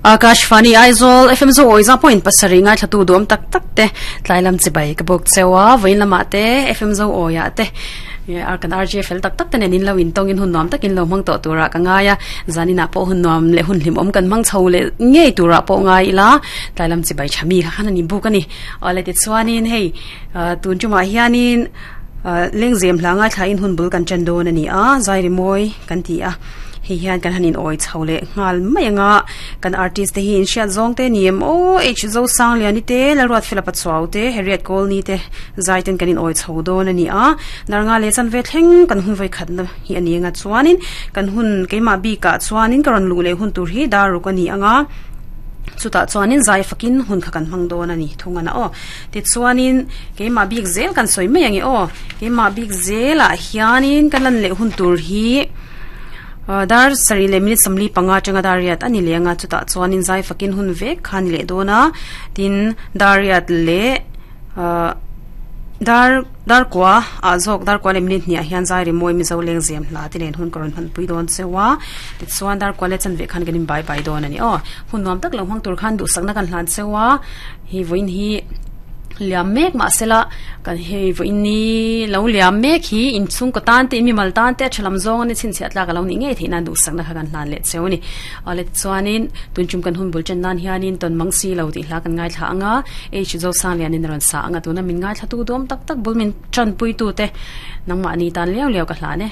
Akashvani Aizawl FM zo awi za point pasarih ngaithlatu duam tak tak te tlai lam chibai ka bawk cheu a vawiin lamah te FM zo awiah te kan RJ fel tak tak te nen in lo intawng in hun nuam takin lo hmang tawh turah ka ngai a zaninah pawh hun nuam leh hun hlimawm kan hmang chho leh ngei turah pawh ngai ila tlai lam chibai tha mi kha khan a ni buk a ni. Awle tichuanin hei tun tumah hianin lengzem hla ngaithlain hun bul kan ṭan dawn a ni a, zai rimawi kan ti a, hei hian kan han inawi chho leh nghal mai ang a, kan artist te hi inhriat zawng te ni em aw, H Zosangliani te, Lalruatfela Pachuau te, Harriet Kawlni te zai ten kan inawi chho dawn a ni a, Darnga leh chanve thleng kan hun vawikhatna hi a ni ang a, chuanin kan hun keimah bikah chuanin ka rawn luh leh hun tur hi dar ruk a ni ang a. Chutah chuanin zai fakin hun kha kan hmang dawn a ni thung a na aw. Tichuanin keimah bik zel kan sawi mai ang e aw. Keimah bik zelah hianin ka lan leh hun tur hi dar sarih leh minute 45 atanga dar riat a ni leh ang a. Chutah chuanin zai fakin hun vek kha a ni leh dawn a. Tin dar riat leh ahh dar dar kua ah zawk dar kua leh minute hniah hian zai rimawi mizo leng zem hla te nen hun ka rawn hmanpui dawn cheu a tichuan dar kua leh chanve khan kan in bai bai dawn a ni aw hun nuam tak lo hmang tur khan duhsakna kan hlan cheu a hi vawiin hi liam mek mahsela kan hei vawiin ni lo liam mek hi inchhungkaw tan te in mimal tan te a tha lam zawng a ni chhinchhiah tlak a lo nih ngei theih nan duhsakna kha kan hlan leh cheu a ni. Awle tichuanin tun tum kan hun bul chen nan hianin tawn mang si lo tih hla kan ngaithla ang a, H Zosanglianin a rawn sa ang a, tuna min ngaithlatu dawm tak tak bul min tanpuitute nangmahni tan liau liau ka hlan e.